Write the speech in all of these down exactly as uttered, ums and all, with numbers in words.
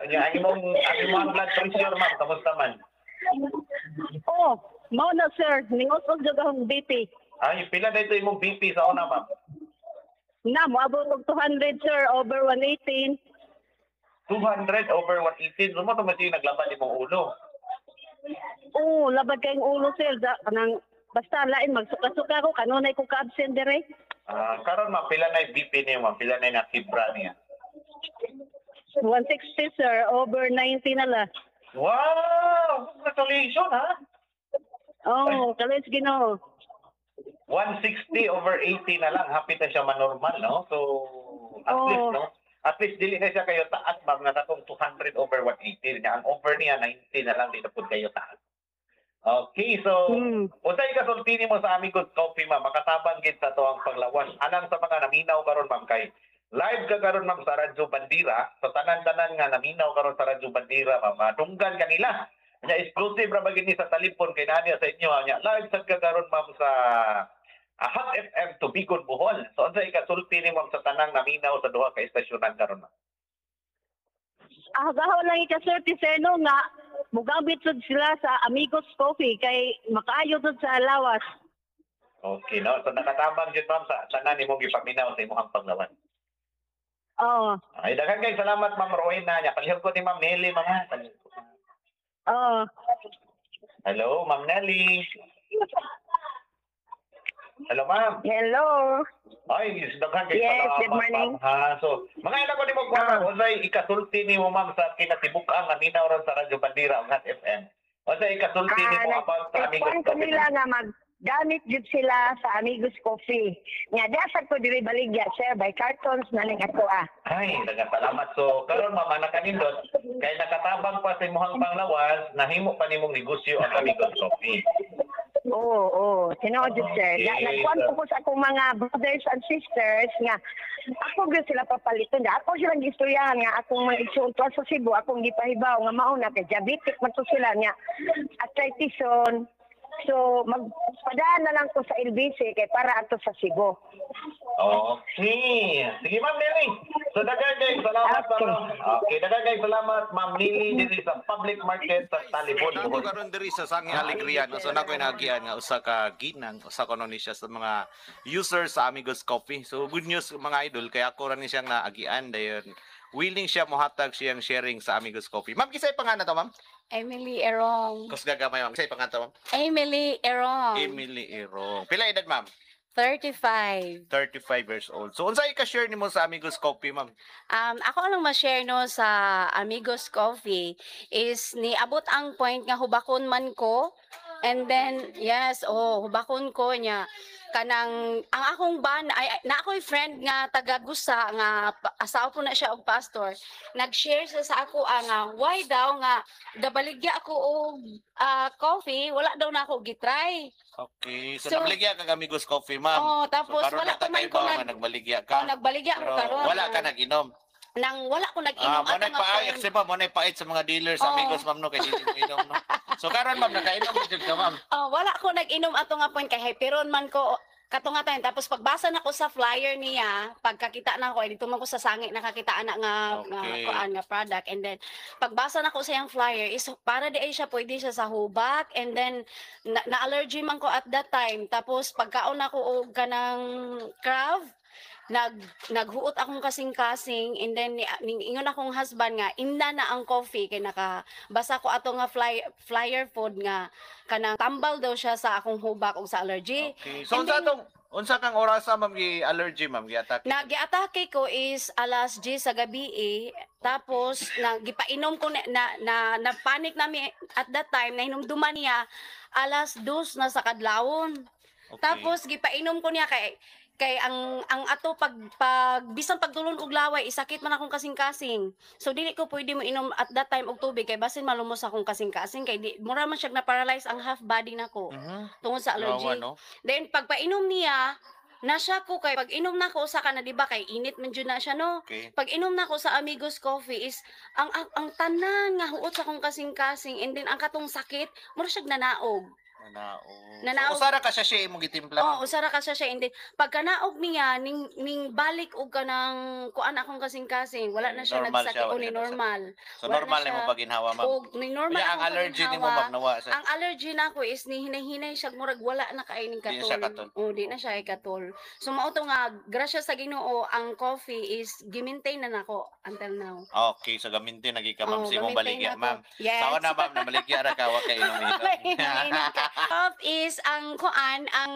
Nya ang imong ang imong blood pressure, ma'am, kamusta man? Oh, mao na, sir, ningos-os jud akong B P. Ay, pila na ito imong B P sa una, ma'am? Na moabot og two hundred, sir, over one eighteen. two hundred over one eighteen. So, mao to man siya naglabad imong ulo. Oo, labad kayong ulo, sir. Da, kanang basta lain magsuka-suka ko kanunay ko ka-absent dire. Ah, karon, ma'am, pila na yung B P niyo, ma'am? Pila na yung nakibra niya? one sixty, sir, over ninety na la. Wow! Congratulations, ha? Oh, kalis Ginoo. one sixty over eighty na lang. Happy na siya manormal, no? So, at Oo. least, no? At least, dili na siya kayo taas, ma'am, nga katong two hundred over one eighty. Niya. Ang over niya, ninety na lang, dito po kayo taas. Okay, so, Hmm. unsay kasulti nimo sa Amigos Coffee, ma'am? Makatabang gid sa atuang panglawas. Alang sa mga naminaw karon, ma'am, kay live ka karon, ma'am, sa Radyo Bandira. Sa tanan-tanan nga naminaw karon sa Radyo Bandira, ma'am, madunggan kanila. Nya exclusive ra ba gid ni sa Talibon kay naa sa inyo nya. Live sad ka karon, ma'am, sa ah, Hot F M Tubigon, Bohol. So unsay kasulti ni, ma'am, sa tanang naminaw sa duha ka estasyonan karon, ma'am? Ah, gaho lang ikasulti, sir, no, nga mugamit sud sila sa Amigos Coffee kay makaayo sud sa lawas. Okay, no? So nakatabang jud, ma'am, sa tanan nimong gipaminaw sa imong panglawas. Oo. Ay, daghan kay salamat, Ma'am Rowena. Nya palihog ko ni Ma'am Nelly, ma'am, ha. Palihog ko. Oo. Hello, Ma'am Nelly. Hello, ma'am. Hello. Ay, daghan kay Yes, salamat, good morning. ma'am, ha. So, mga ilan ko nimo kuha, ma'am, unsay ikasulti nimo, ma'am, sa kinatibuk-ang naminaw ron sa Radyo Bandira ug Hot F M? Unsay ikasulti nimo Ah, about sa Amigos nagkuhan ko Coffee? nila nga maggamit jud sila sa Amigos Coffee. Nga dasag ko diri baligya, sir, by cartons na ning ako ah. Ay, daghang salamat. So, karon, ma'am, nakanindot kay nakatabang pa sa imong panglawas, nahimo pa nimong negosyo ang Amigos Coffee. Oo, oo. Tinuod jud, sir. Okay, Na, nagkuhan so- ko ko sa akong mga brothers and sisters nga ako gyud sila papaliton. Ako silang gistoryahan nga akong mga igsoon tuwa sa Cebu, akong gipahibaw nga mao na kay diabetic man to sila nga arthritison. So magpadaan na lang ko sa L B C kay para ato sa Cebu. Okay. Sige, Ma'am Nelly. So, daghan kay salamat, Okay. ma'am. Okay, daghan kay salamat, Ma'am Lily, diri sa public market sa Talibon, Nako Bohol. karon diri sa Sangi Alegria, no? So nako inagian nga usa ka ginang, usa kuno ni siya sa mga users sa Amigos Coffee. So good news, mga idol, kay ako ra ni siyang naagian dayon willing siya mohatag siyang sharing sa Amigos Coffee. Ma'am, kisay pangalan to, ma'am? Emily Erong. Kusga gamay, ma'am. Kisay pangalan to, ma'am? Emily Erong. Emily Erong. Pila edad, ma'am? thirty-five. thirty-five years old. So unsay ka share nimo sa Amigos Coffee, ma'am? Um, ako lang ma-share, no, sa Amigos Coffee is niabot ang point nga hubakon man ko. And then yes, oh, hubakon ko niya kanang ang akong ban ay ay- na ako'y friend nga taga Gusa nga pa- asawa po na siya og pastor. Nag-share siya sa ako ah, nga why daw nga gabaligya ako og ah, coffee, wala daw na ako gitry. Okay. So, So- nagbaligya ka Amigos Coffee, ma'am. Oh, tapos So, karon wala na pa man ko ta nag nga nagbaligya ka. Oh, nagbaligya ako Pero karon. wala ka nag-inom. Nang wala ko nag-inom Ah, mo ato na nga paay, point. kasi ma'am, mo na pait sa mga dealers sa Oo. Amigos, ma'am, no, kay dili mo inom, no. So karon, ma'am, nakainom na jud ka, ma'am. Oh, wala ko nag-inom ato nga point kay hyperon man ko kato nga time. Tapos pagbasa na ko sa flyer niya, pagkakita na ko ay dito man ko sa sangi nakakita ana nga nga Okay. kuan nga product, and then pagbasa na ko sa iyang flyer is para di ay siya pwede siya sa hubak, and then na, na-allergy man ko at that time. Tapos pagkaon ako og kanang crave, nag naghuot akong kasing-kasing, and then ni, ni- ingon akong husband nga imna na ang coffee kay nakabasa ko ato nga fly, flyer food nga kanang tambal daw siya sa akong hubak ug sa allergy. Okay. So And unsa then- tong unsa kang orasa, ma'am, gi allergy, ma'am, gi-attack? Nag-atake ko is alas diyes sa gabi eh. Tapos na gipainom ko na na, na, na panic nami at that time, nahinumduman niya alas dos na sa kadlawon. Okay. Tapos gipainom ko niya kay kay ang ang ato pag pag bisan pagtulon og laway isakit man akong kasing-kasing. So dili ko pwede mo inom at that time og tubig kay basin malumos akong kasing-kasing kay di mura man siya na paralyze ang half body nako Mhm. tungod sa allergy. Yawa, no? Then pagpainom niya, na siya ko kay pag inom na ko sa kana, di ba, kay init man jud na siya, no? Okay. Pag inom na ko sa Amigos Coffee is ang ang, ang tanan nga huot sa akong kasing-kasing and then ang katong sakit mura siya nanaog. Nanaog. Nanaog. So, usa ra ka sachet imong gitimpla, Oh, ma'am. Usa ra ka sachet and then pagkanaog niya ning ning balik og kanang kuan akong kasing-kasing, wala na siya Normal nagsakit siya, o wala ni na siya. normal. So Wala na normal siya. nimo paginhawa, ma'am. Og ni normal Unya, ang akong allergy nimo, paginhawa. ma'am, nawa sa Ang allergy nako is ni hinay-hinay siya, murag wala na kay ning Di na siya katol. katol. Oh, di na siya ay katol. So mao to nga grasya sa Ginoo, ang coffee is gi-maintain na nako until now. Okay, so gamitin lagi ka, ma'am, Oh, sa imong ga-maintain baligya, na ko. ma'am. Yes. Sa una, ma'am, nabaligya ra ka wa kay inom-inom. Inom ka. Off is ang kuan, ang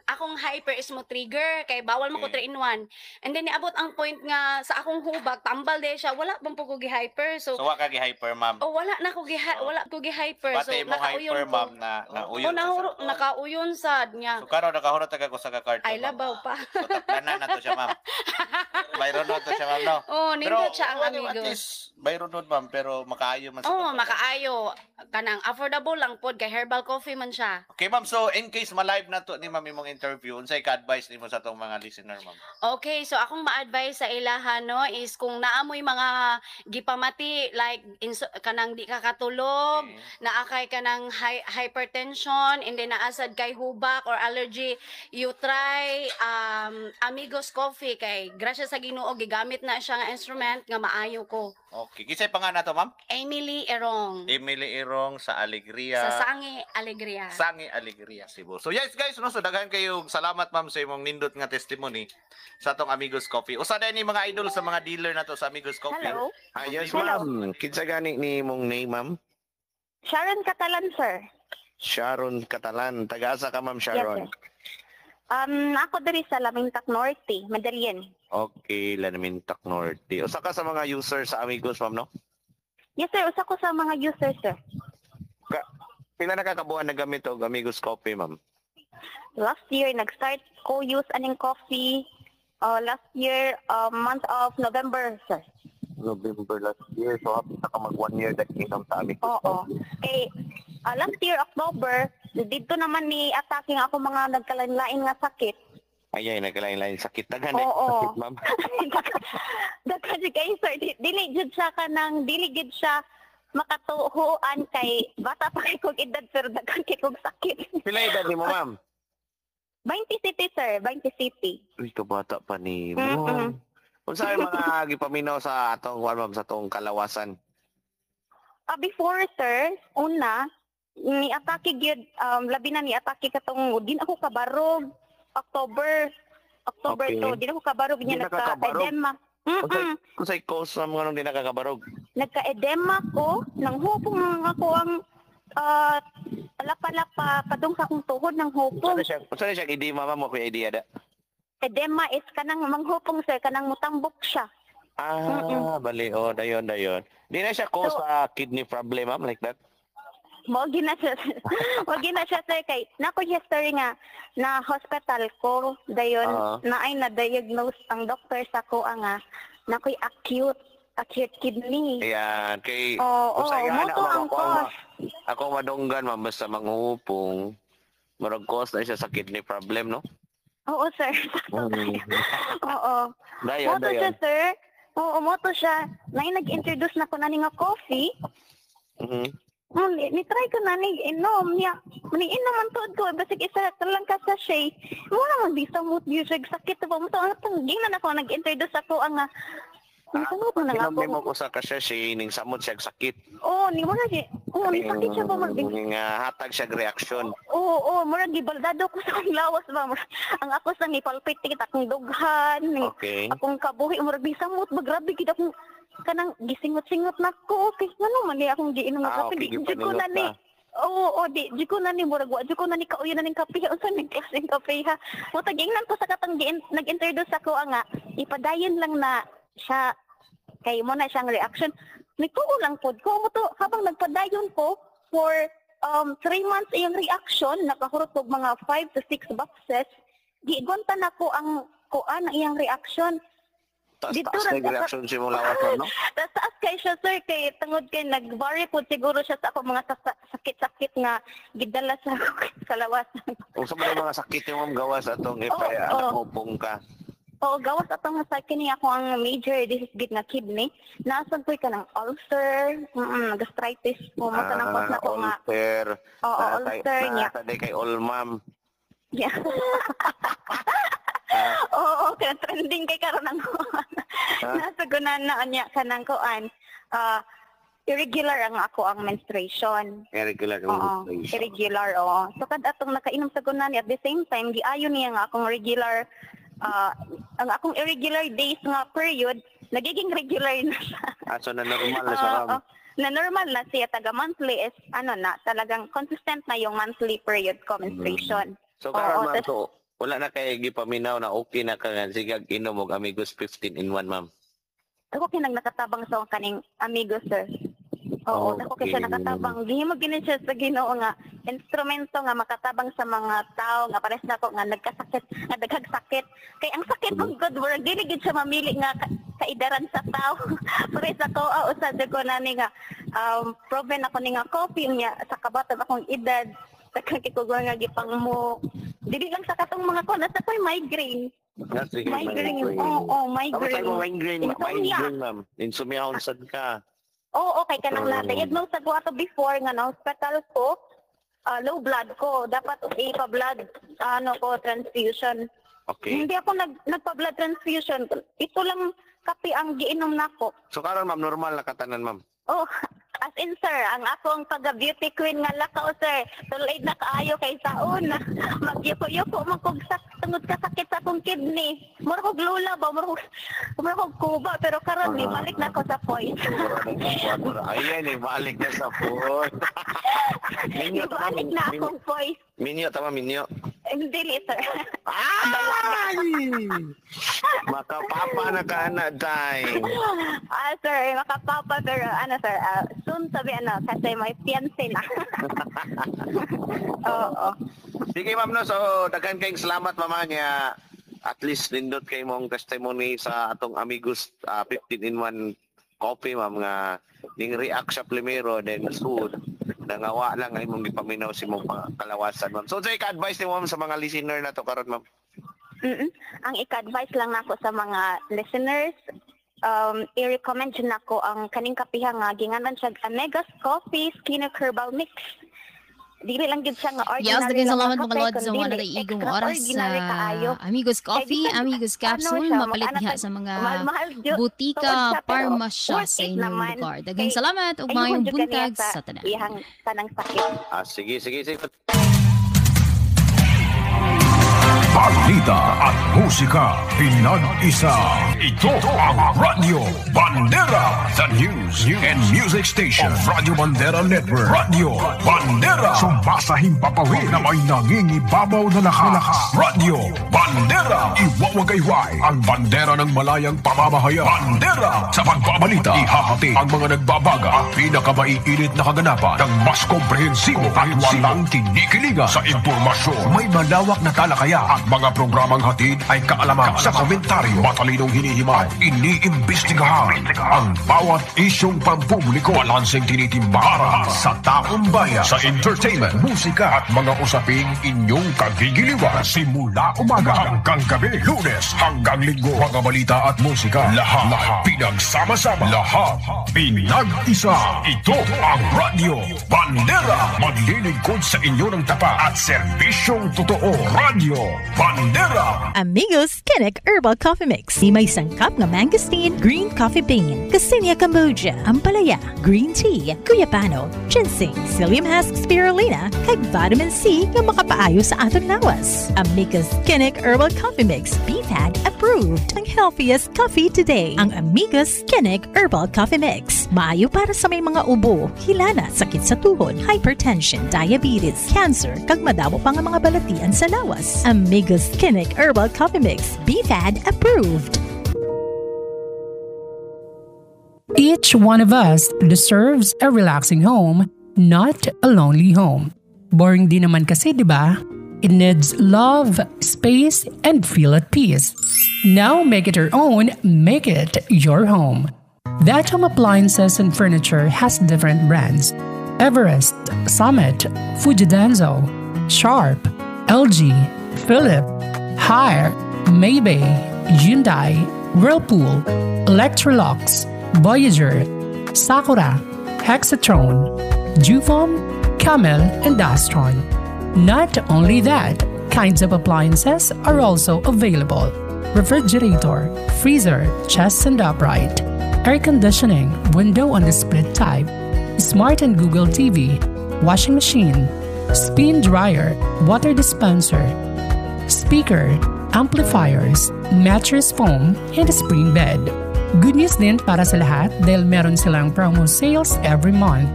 akong hyper is mo trigger kay bawal mo ko Okay. three in one. And then niabot ang point nga sa akong hubag tambal de siya, wala bang po ko gi-hyper. So, So wa ka gi-hyper, ma'am. oh, wala na ko gi Oh. wala ko gi-hyper. So Pati imong nakauyon hyper, ko. ma'am, na nauyon Oh, sa nahuro, sa- nakauyon sad niya. So karon nakahurot ka ko sa ka carton, Ay ma'am. labaw pa. So taplanan na to siya, ma'am. Bayron to siya, ma'am, no? Oh, nindot siya ang well, at Amigos. least, bayron nun, ma'am, pero makaayo man sa Oh, katawan. makaayo kanang affordable lang pod kay herbal coffee man siya. Okay, ma'am. So, in case ma-live na to ni ma'am imong interview, unsay ka-advice nimo sa atong mga listener, ma'am? Okay, so akong ma-advise sa ilaha no is kung naamoy mga gipamati like inso, kanang di ka katulog, Okay. naa kay kanang hy- hypertension, and then naasad kay hubak or allergy, you try um, Amigos Coffee kay grasya sa Ginoo gigamit na siya nga instrument nga maayo ko. Okay. Kinsay pa nga na to, ma'am? Emily Erong Emily Irong sa Alegria. sa Sangi Alegria. Sangi Alegria, Cebu. So yes guys, no, so daghan kayo salamat, ma'am, sa imong nindot nga testimony sa atong Amigos Coffee. Usa ni mga idol sa mga dealer na to sa Amigos Coffee. Hello? Ah, yes, Hello. ma'am. Kinsa gani ni imong name, ma'am? Sharon Catalan, sir. Sharon Catalan. Taga-asa ka, ma'am Sharon? Yes, sir. Um, ako diri sa Lamintak Norte, Madalien. Okay, Lamintak Norte. Usa ka sa mga user sa Amigos, ma'am, no? Yes, sir. Usa ko sa mga user, sir. Pila na kakabuan na gamit og Amigos Coffee, ma'am? Last year, nag-start ko use aning coffee. Uh, last year, uh, month of November, sir. November last year. So, hapit na ka mag one year na inom sa Amigos Oo. Kay uh, last year, October, dito naman ni attacking ako mga nagkalain-lain nga sakit. Ay, ay, nagkalain-lain sakit. Daghan na Oo. sakit, ma'am. Daghan si kay sir, di, dili jud siya kanang dili jud siya makatuhuan kay bata pa kay kog edad pero daghan kay kog sakit. Pila edad nimo, ma'am? twenty City, sir, twenty City. Uy, kabata pa ni mo. Mm-mm. Unsa ay mga gipaminaw sa atong kuan, ma'am, sa atong kalawasan? Ah, before, sir, una ni atake gyud um, labi na ni atake katong di na ako kabarog October October Okay. to di na ako kabarog Di niya na ka kabarog? nagka-edema. Unsay Mm. unsay cause, ma'am, nganong di nakakabarog? Nagka-edema ko, nang hupong ako ang ah, lapa-lapa padung sa akong tuhod ng Unsa hupong. na siya? Unsa na siya edema, ma'am? Mo idea da. Edema is kanang manghupong, sir, kanang mutambok siya. Ah, bali oh, dayon dayon. Di na siya cause So- sa kidney problem, ma'am, like that. Mao na siya. Mao na siya, sir, kay nako history nga na hospital ko dayon Ah. na ay na-diagnose ang doctor sa ko nga nakoy acute acute kidney. Ayan, kay Oo, Unsay nga mo na, to ma'am, ang ako ang ma- cause. ako madunggan, ma'am, basta manghupong murag cause na siya sa kidney problem, no? Oo, sir. Mm. Oo. Dayon, Mo to siya, dayon. sir. Oo, mo to siya. Na nag-introduce na ko na ni nga coffee. Mhm. Mm, ni, ni try ko na ni inom niya. Ni inom man tuod ko basig isa ka lang ka sachet. Mo naman di sa mood music sakit ba mo to ang gingnan ako nag-introduce ako ang nga Nisamot na nga Inom nimo ako. ko sa kasya siya ning samot siya sakit. Oo, ni mo na siya. Oo, ni sakit siya ba mag Nga hatag siya reaksyon. Oo, oo, murag gibaldado ko sa akong lawas ba. Murag, ang ako sa ni palpit akong dughan, ni Okay. akong kabuhi murag bisamot ba grabe gid akong kanang gisingot-singot na ko. Okay, ngano man ni akong giinom nga Ah, kape okay, di jud ko gipaningot na ni. ka. Oo, oo, di jud ko na ni murag wa jud ko na ni kauyon na ning kape unsa ning klaseng kape ha. Mo tagingnan ko sa katong giin, nag-introduce ako nga ipadayon lang na siya kay mo na siyang reaction. Nagtuo lang pod ko mo to habang nagpadayon ko for um three months iyang reaction nakahurot og mga five to six boxes gigonta na ko ang kuan ang iyang reaction. Taas Dito taas ra na sa- reaction si mong lawas, no? Taas taas kay siya, sir, kay tungod kay nag-vary po siguro siya sa ako mga sasa- sakit-sakit nga gidala sa kalawasan. Unsa man ang mga sakit yung ma'am gawas atong Oo, ipa oo. hupong ka. Oo, gawas atong sa kini ako ang major disease gid nga kidney. Naa sad ko'y kanang ulcer, mm, gastritis po mo kanang cause Ah, nako nga. ulcer. Oo, Naa ulcer niya. Naa sa kay all ma'am. Yeah. Oo, kaya trending kay karon ang nasa gunan na niya kanang kuan. Ah, irregular ang ako ang menstruation. Irregular ang Oo, menstruation. irregular, oo. So kad atong nakainom sa gunan at the same time giayo niya nga akong regular ah, ang akong irregular days nga period nagiging regular na siya. Ah, so na normal na siya, Oo, ma'am. na normal na siya taga monthly is ano na talagang consistent na yung monthly period ko menstruation. So karon Oo, ma'am, tas- so wala na kay gipaminaw na okay na ka nga sige inom og Amigos fifteen in one, ma'am. Ako kinang nakatabang sa kaning amigo, sir. Oo, Okay. ako kay siya nakatabang. Gihimo gini siya sa Ginoo nga instrumento nga makatabang sa mga tao nga pares nako nga nagkasakit, nga daghag sakit. Kay ang sakit Mhm. mm good work dili gid siya mamili nga ka- kaidaran sa tao. Pares ako ah, usa jud ko nani nga um proven ako ni nga coffee niya sa kabaton akong edad daghan kay ko nga gipang mo dili lang sa katong mga ko nasa ko'y migraine. Ah, sige, Migraine. Oo, oh, Tama migraine. tayo migraine, Insomnia. migraine, ma'am. Insomnia unsad ka. Oo, okay ka nang Oo. na-diagnose sa ato before nga na hospital ko, ah, low blood ko. Dapat ipa-blood ano ko transfusion. Okay. Hindi ako nag nagpa-blood transfusion. Ito lang kape ang giinom nako. So karon ma'am, normal na katanan, ma'am. Oh, as in sir, ang ako ang pagka-beauty queen nga lakaw sir. Tulad na kaayo kay sa una. Magyuko-yuko man kog sak tungod ka sakit sa akong kidney. Mura kog lula ba, mura kog mura kog kuba pero karon ni balik na ko sa point. Ayan eh, balik na sa point. Minyo tama, Balik na minyo, akong voice. minyo tama, minyo. Hindi, sir. Ay! Makapapa na ka na, day. Ah, sir, makapapa pero ano sir, ah, soon sabi ano, kasi may fiancé na. Oo. Sige ma'am no, so daghan kayong salamat mama niya. At least nindot kay mong testimony sa atong Amigos ah, fifteen in one coffee ma'am nga ning react siya primero then soon nangawa lang ay mong gipaminaw si mong pa- kalawasan ma'am. So say ka-advice ni ma'am sa mga listener na to karon ma'am. Mm-mm. Ang ika-advise lang nako sa mga listeners, um, i-recommend jud nako ang kaning kapiha nga ginganan siya Amegas Coffee Skin Herbal Mix. Dili lang gid siya nga ordinary Yes, daghang lang salamat nga mga kape, lods sa kundi mga naiigong oras extraordinary sa kaayo. Amigos Coffee, bisan, Amigos ano Capsule, siya, mapalit mag-anak diha tag- sa mga mahal-mahal jud. butika, Tuod siya, pero parmasya worth sa it inyong naman. lugar. Daghang Kay- salamat ug ayun maayong jud kaniya buntag sa sa tanan. Iyang tanang sakit. Ah, sige, sige, sige. Balita at musika pinag-isa. Ito ang Radyo Bandera, the news and music station of Radyo Bandera Network. Radyo Bandera. Sumasahimpapawid na may nangingibabaw na lakas. Radyo Bandera. Iwawagayway ang bandera ng malayang pamamahayag. Bandera. Sa pagbabalita, ihahati ang mga nagbabaga at pinakamaiinit na kaganapan ng mas komprehensibo at walang kinikiligan sa impormasyon. May malawak na talakayan at mga programang hatid ay kaalaman sa komentaryo, matalinong hinihimay, iniimbestigahan ang bawat isyong pampubliko, balanseng tinitimba para sa taong bayan, sa entertainment, musika at mga usaping inyong kagigiliwan. Simula umaga hanggang gabi, Lunes hanggang Linggo, mga balita at musika, lahat, lahat pinagsama-sama, lahat pinag-isa. Ito ang Radyo Bandera, maglilingkod sa inyo ng tapat at serbisyong totoo. Radyo Bandera. Amigos Kinnick Herbal Coffee Mix. Ni may sangkap nga mangosteen, green coffee bean, Garcinia Cambogia, ampalaya, green tea, guyabano, ginseng, psyllium husk spirulina, kag vitamin C nga makapaayo sa aton lawas. Amigos Kinnick Herbal Coffee Mix, B F A D approved. Ang healthiest coffee today. Ang Amigos Kinnick Herbal Coffee Mix. Maayo para sa may mga ubo, hilana, sakit sa tuhod, hypertension, diabetes, cancer, kag madamo pa nga mga balatian sa lawas. Amigos Kinnick Herbal Coffee Mix, B F A D approved. Each one of us deserves a relaxing home, not a lonely home. Boring din naman kasi, di ba? It needs love, space, and feel at peace. Now make it your own, make it your home. That Home Appliances and Furniture has different brands. Everest, Summit, Fujidenzo, Sharp, L G, Philips, Haier, Maybe, Hyundai, Whirlpool, Electrolux, Voyager, Sakura, Hexatron, Jufom, Camel, and Astron. Not only that, kinds of appliances are also available. Refrigerator, freezer, chest and upright, air conditioning, window on the split type, smart and Google TV, washing machine, spin dryer, water dispenser, speaker, amplifiers, mattress foam, and a spring bed. Good news din para sa lahat dahil meron silang promo sales every month,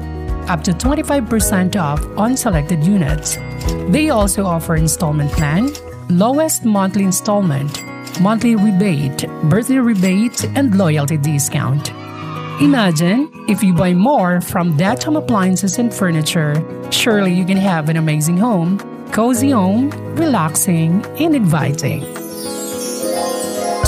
up to twenty-five percent off on selected units. They also offer installment plan, lowest monthly installment, monthly rebate, birthday rebate, and loyalty discount. Imagine if you buy more from That Home Appliances and Furniture, surely you can have an amazing home, cozy home, relaxing, and inviting.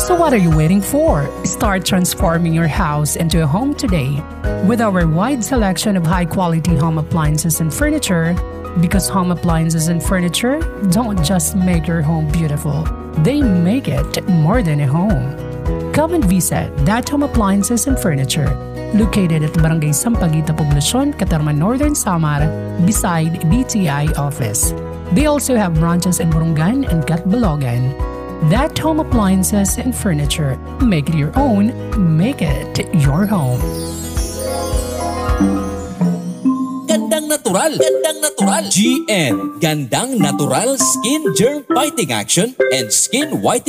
So what are you waiting for? Start transforming your house into a home today with our wide selection of high-quality home appliances and furniture, because home appliances and furniture don't just make your home beautiful, they make it more than a home. Come and visit That Home Appliances and Furniture, located at Barangay Sampaguita Poblacion, Catarman, Northern Samar, beside D T I office. They also have branches in Borongan and Catbalogan. That Home Appliances and Furniture. Make it your own, make it your home. Gandang natural. Gandang natural. G N. Gandang natural skin germ fighting action and skin whitening.